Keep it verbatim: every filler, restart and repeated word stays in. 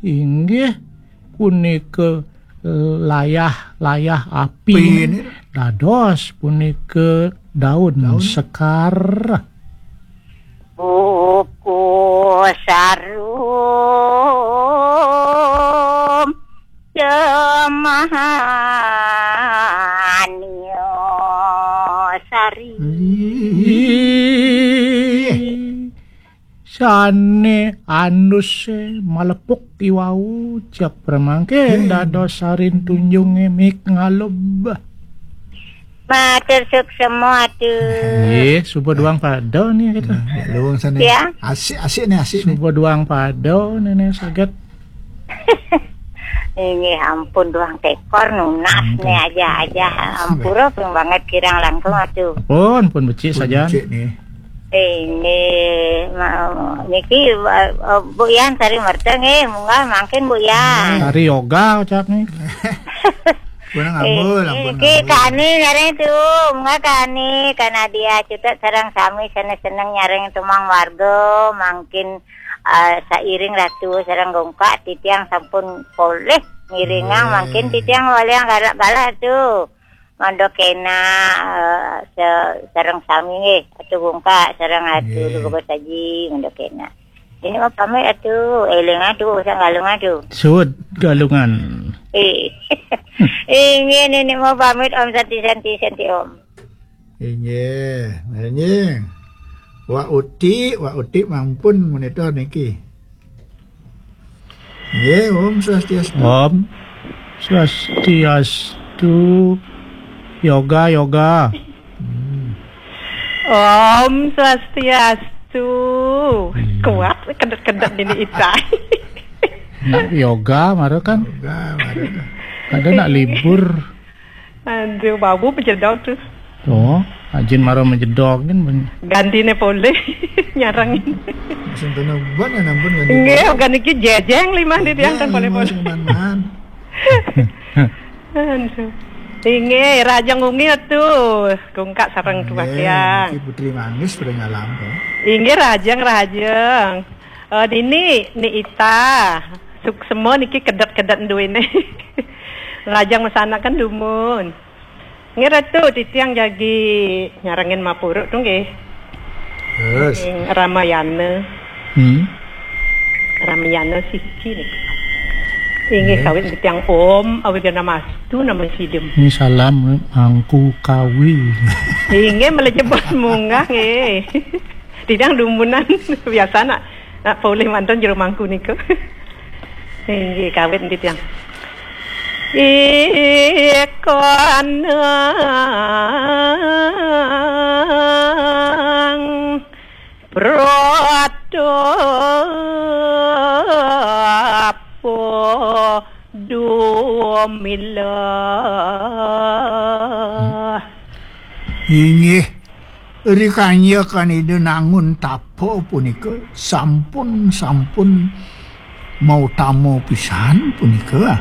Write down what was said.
Inggih punika layah-layah api. Api niki. Dados punika daun. Daun sekar. Buku sarum cemahania sari. Ih. Sane anduse malepuk iwau, cek pramangke. Hmm. Dados sarin tunjunge mik ngalub. Matur suksema atuh. Nggih, suba duang pada nih gitu. Nah, luwung sane. Ya. Asik-asik nih, asik nih. Suba duang pada nene saget. Inggih ampun, duang tekor nunas. Ampun. Nih aja-aja. Ampura pun banget kirang langkung atuh. Pun, pun becik. Pun saja. Becik nih. Inggih, ma-, niki, eh, eh, Bu Yan sari merta nggih, munggah mangkin Bu Yan. Sari yoga ucap nih. Pun ngambul, eh, ampun, niki ngambul. Kani nyareng tuh, munggah kani, karena dia cutet sareng sami seneng-seneng nyareng tumang warga, mangkin, eh, sairing Ratu sareng Gungkak, titiang sampun polih ngiringang, nggih. Mangkin titiang waliang galak-galak tuh. Mangda kena, eh, se-, sareng sami nggih, Atu Gungkak sareng Atu, nggih. Duga Saji, mangda kena. Ini mah pamit atuh, eling atuh, usah galung atuh. Suud galungan. Eh. Inggih, nini mah pamit, Om, santi, santi, santi, Om. Inggih, nggih. Wak Uti, Wak Uti mampun monitor niki. Nggih, Om Swastiastu. Om Swastiastu. Yoga, yoga. Hmm. Om Swastiastu. Hmm. Kuat, kedet-kedet ini, Itai. Nak yoga, mara kan? Yoga, mara. Ada nak libur. Aduh, bau pejedok tuh. Oh, ajin mara mejedok kan, ben-, gantine polih nyarengin. Sing kena ban ya, ampun, ganti. Nggih, ban. Ogan iki jejeng limah di tiang, iya, kan polih-polih. Sing man-man. Aduh. Inggih, rahajeng wengi tuh. Gungkak sareng tuah tiang. Nggih, niki Putri Manis pada ngalam, kok. Inggih, rahajeng, rahajeng. Eh, dini, Ni Ita. Suksema niki kedet-kedet duwene. Rahajeng masanaken dumun. Nggih, Ratu, titiang jagi nyarengin mapuruk tuh, nggih. Terus? Ing Ramayana. Hmm. Ramayana siki niki. Inggih, nggih. Kawit titiang Om, awighnamastu, nama sidem. Ini salam, Mangku Kawi. Inggih, melejebos munggah, nggih. Titiang dumunan, biasa nak, nak polih manten jero mangku niku. Inggih, kawit niki tiang. Ikanang pratapo dumilah. Inggih, rikanya kan Ida nangun tapa punika sampun, sampun mautama pisan punika.